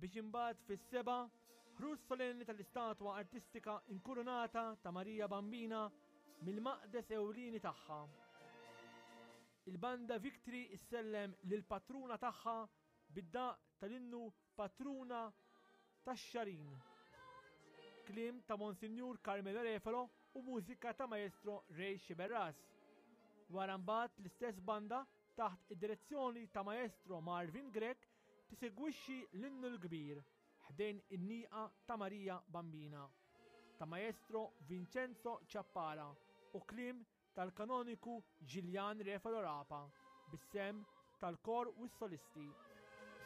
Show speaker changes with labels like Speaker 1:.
Speaker 1: Biex imbagħad fis-sebgħa, ħruġ solenni tal-istatwa artistika inkurunata ta' Marija Bambina mill-maqdes ewlieni tagħha. Il-Banda Victory issellem lill-patruna tagħha bid-daqq tal-innu Patruna tax-Xagħrin. Kliem ta' Monsinjur Carmelo Refalo u mużika ta' Maestro Ray Sciberras. Wara mbagħad l-istess banda taħt id-direzzjoni ta' Maestro Marvin Grech tisegwixxi l-Innu l-Kbir ħdejn in-Nieqa ta' Marija Bambina ta' Maestro Vincenzo Ciappara u kliem tal-Kanoniku Ġiljan Refalo Rapa bis-sehem tal-kor u s-solisti.